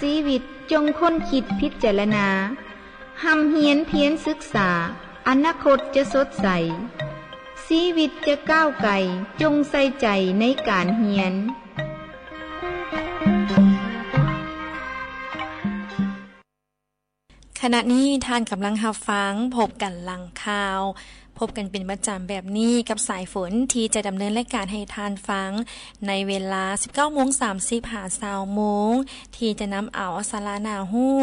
ຊີວິດຈົ່ງຄົ້ນຄິດພິຈາລະນາ, ຮ່ຳຮຽນພຽນສຶກສາ, ອະນາຄົດຈະສົດໃສ, ຊີວິດຈະກ້າວໄກ, ຈົ່ງໃສ່ໃຈໃນການຮຽນ. ຂະນະນີ້ທ່ານກຳລັງຮັບຟັງພົບກັນຫຼັງຂ່າວ. ພົບກັນເປັນປະຈຳແບບນີ້ກັບສາຍຝົນ ທີ່ຈະດຳເນີນລາຍການໃຫ້ທ່ານຟັງໃນເວລາສິບເກົ້າໂມງສາມສິບຫາຊາວໂມງ ທີ່ຈະນຳເອົາສາລະໜ້າຮູ້,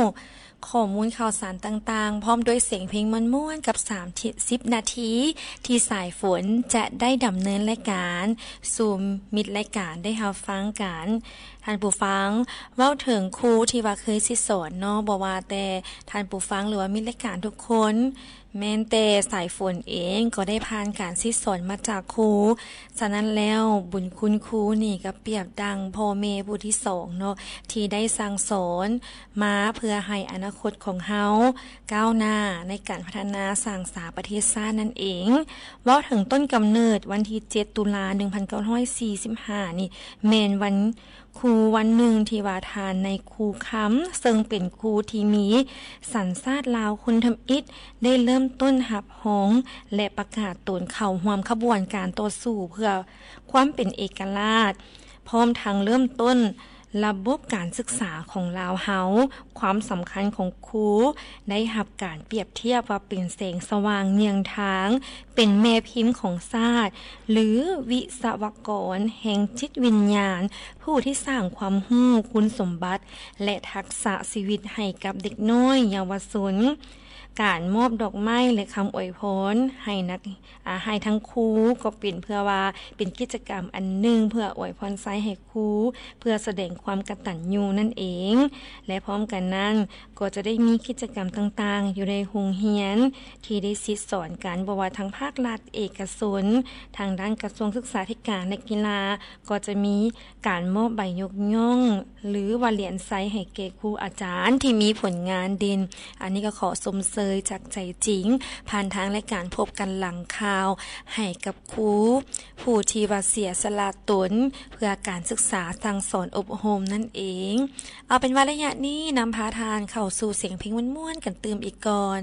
ຂໍ້ມູນຂ່າວສານຕ່າງໆ ພ້ອມດ້ວຍສຽງເພງມ່ວນໆ ກັບສາມສິບນາທີ ທີ່ສາຍຝົນຈະໄດ້ດຳເນີນລາຍການສູ່ມິດລາຍການໄດ້ຮັບຟັງກັນ. ທ່ານຜູ້ຟັງ, ເວົ້າເຖິງຄູທີ່ວ່າເຄີຍສິດສອນເນາະ, ບໍ່ວ່າແຕ່ທ່ານຜູ້ຟັງ ຫຼືວ່າມິດລາຍການທຸກຄົນ, ແມ່ນແຕ່ສາຍຝົນເອງກໍໄດ້ຜ່ານການສິດສອນມາຈາກຄູ. ສະນັ້ນແລ້ວ, ບຸນຄຸນຄູນີ້ກໍປຽບດັ່ງພໍ່ແມ່ຜູ້ທີສອງເນາະ, ທີ່ໄດ້ສັ່ງສອນມາເພື່ອໃຫ້ອະນາຄົດຂອງເຮົາກ້າວໜ້າໃນການພັດທະນາສ້າງສາປະເທດຊາດນັ້ນເອງ. ເວົ້າເຖິງຕົ້ນກຳເນີດ, ວັນທີເຈັດ ຕຸລາ ໜຶ່ງພັນເກົ້າຮ້ອຍສີ່ສິບຫ້ານີ້ ແມ່ນວັນຄູວັນໜຶ່ງ ທີ່ວ່າທ່ານນາຍຄູຄຳ ເຊິ່ງເປັນຄູທີ່ມີສັນຊາດລາວຄົນທຳອິດ ໄດ້ເລີ່ມຕົ້ນຮັບຮອງ ແລະ ປະກາດຕົນເຂົ້າຮ່ວມຂະບວນການຕໍ່ສູ້ເພື່ອຄວາມເປັນເອກະລາດ, ພ້ອມທັງເລີ່ມຕົ້ນລະບົບການສຶກສາຂອງລາວເຮົາ. ຄວາມສຳຄັນຂອງຄູໄດ້ຮັບການປຽບທຽບວ່າເປັນແສງສະຫວ່າງເຍືອງທາງ, ເປັນແມ່ພິມຂອງຊາດ ຫຼື ວິສະວະກອນແຫ່ງຈິດວິນຍານ, ຜູ້ທີ່ສ້າງຄວາມຮູ້, ຄຸນສົມບັດ ແລະ ທັກສະຊີວິດໃຫ້ກັບເດັກນ້ອຍເຍົາວະຊົນ. ການມອບດອກໄມ້ ແລະ ຄຳອວຍພອນໃຫ້ນັກ, ອາ, ໃຫ້ທັງຄູ ກໍເປັນເພື່ອວ່າເປັນກິດຈະກຳອັນໜຶ່ງເພື່ອອວຍພອນໄຊໃຫ້ຄູ ເພື່ອສະແດງຄວາມກະຕັນຍູນັ້ນເອງ ແລະ ພ້ອມກັນນັ້ນກໍຈະໄດ້ມີກິດຈະກຳຕ່າງໆຢູ່ໃນໂຮງຮຽນທີ່ໄດ້ສິດສອນກັນ ບໍ່ວ່າທາງພາກລັດ, ເອກະຊົນ, ທາງດ້ານກະຊວງສຶກສາທິການ ແລະ ກິລາ ກໍຈະມີການມອບໃບຍົກຍ້ອງ ຫຼືວ່າຫຼຽນໄຊໃຫ້ແກ່ຄູອາຈານທີ່ມີຜົນງານເດັ່ນ. ອັນນີ້ກໍຂໍຊົມເຊີຍຈາກໃຈຈິງ ຜ່ານທາງລາຍການພົບກັນຫຼັງຂ່າວ ໃຫ້ກັບຄູຜູ້ທີ່ວ່າເສຍສະຫຼະຕົນເພື່ອການສຶກສາສັ່ງສອນອົບຮົມນັ້ນເອງ. ເອົາເປັນວ່າໄລຍະນີ້ນຳພາທ່ານເຂົ້າສູ່ສຽງເພງມ່ວນໆກັນຕື່ມອີກກ່ອນ.